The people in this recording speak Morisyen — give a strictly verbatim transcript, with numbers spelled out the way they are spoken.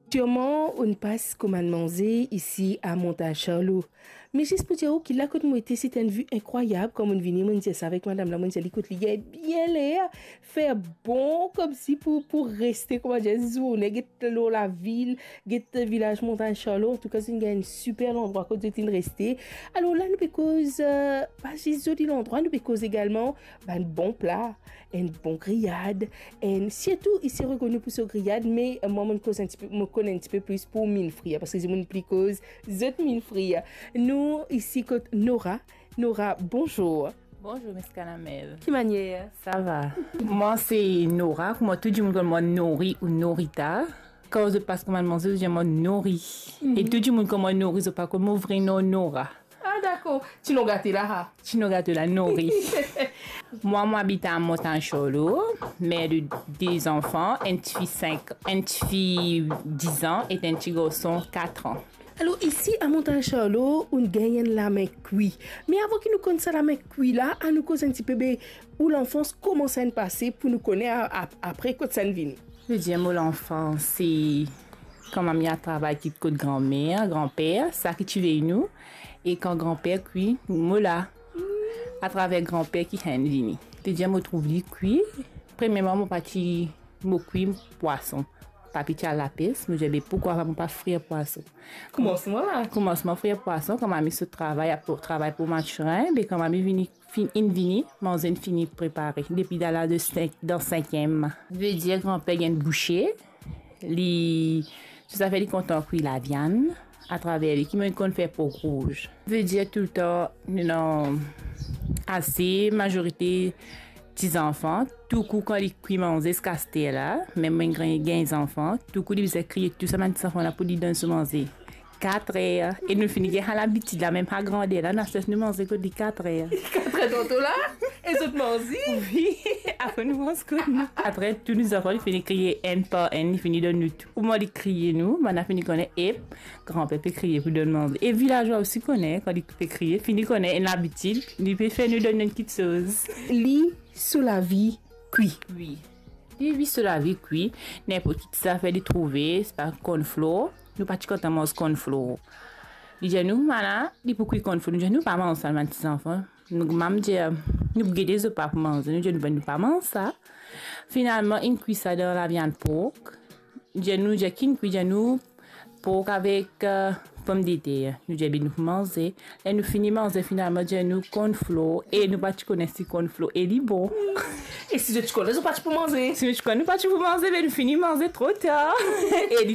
Sirman, ou'nn pas komann manze isi a Montagne Charlot. Me zis pou dir ou ki la kot mo ete, se ti enn vi inkrwayab. Kan mo'nn vini, mo'nn dir sa avek madam la, mo'nn dir li, kot li gagn bien ler, fer bon koumsi pou, pou reste, kouma dir, zourne, get lor lavil, get vilaz Montagne Charlot. Antouka, zot inn gagn enn siper landrwa kot zot inn reste. Alor la, nou pe koz, eh, pa zis zoli landrwa, nou pe koz egalman bann bon pla, enn bon griyad, enn, sirtou isi rekoni pou so griyad, me, eh, mwa, mo'nn koz enn tipe, mo konn enn tipe plis pou minn frir, parski dimoun pli koz zot minn frir. Nou isi kot Nora. Nora, bonzour. Bonzour, Miss Kanamel. Ki manier? Sa va. Mwa, se Nora, kouma tou dimoun konn mwa Nori ou Norita. Kan zot pas komann manze, zot dir mwa Nori. Mhm. E tou dimoun konn mwa Nori, zot pa konn mo vre nom Nora. Ah, dakor. Ti nom gate la, ha? Ti nom gate la, Nori. Mwa, mo abit a Montagne Charlot, mer de de zanfan, enn tifi sink, enn tifi diz an e enn ti garson kat an. Alor, isi a Montagne Charlot, ou'nn gagn enn lame kwi. Me avan ki nou konn sa lame kwi la, anou koz enn tipe, be, ou lanfans, kouma sa inn pase pou nou kone a, a, apre kot sa inn vini. Vedir mo lanfans, se kan mami al travay kit kot granmer, granper, sa ki ti vey nou, e kan granper kwi, mo la, atraver granper ki finn vini. Vedir mo trouv li kwi. Premierman, mo pa ti, mo kwi pwason. Papi ti al lapes, mo dir, be, poukwa pa mo pa frir pwason? Koumansman la. Koumansman frir pwason, kan mami sot travay, pou, travay pou Mathurin, be, kan mami vini, finn, inn vini, manze inn fini prepare. Depi dan laz de sink, dan sinkiem. Vedir granper gagn bousie, li, tou zafer li kontan kwi laviann, atraver li, ki mem konn fer pork rouz. Vedir toultan, nou ena ase, mazorite ti zanfan, tou kou kan li kwi manze ziska aster la, mem mwa gagn, gagn zanfan, tou kou li bizin kriye tou sa bann ti zanfan la pou li donn zot manze. Kat er. E nou fini gagn sa labitid la, mem sa grander la, nou aster nou manze kot li kat er. Kat er tanto la? E zot manze? Wi, apre nou manz kot nou. Apre tou nou zanfan, li fini kriye enn par enn, li fini donn nou tou. Kouma li kriye nou, bann la fini kone, ep, granper pe kriye pou donn manze. E vilazwa osi kone, kan li pe kriye, fini kone, enn labitid, li pe fer nou donn enn kitsoz. Li so lavi kwi. Wi. Li, li so lavi kwi, ninport ki ti zafer li trouve, sipa cornflour, nou pa ti kontan manz cornflour. Li dir nou, mama, li pou kwi cornflour, nou dir nou pa manz sa, bann ti zanfan. Nou, mama dir, nou pou gete zot pa pou manze, nou dir nou, nou pa manz sa. Finalman, inn kwi sa dan laviann pork. Dir nou, dir ki inn kwi, dir nou, pork avek, eh, pomdeter. Nou dir, be, nou pou manze. Ler nou fini manze, finalman, dir nou cornflour. E nou pa ti kone si cornflour e li bon. E si zot ti kone, zot pa ti pou manze. Si nou ti kone, nou pa ti pou manze, be nou fini manze tro tar. E li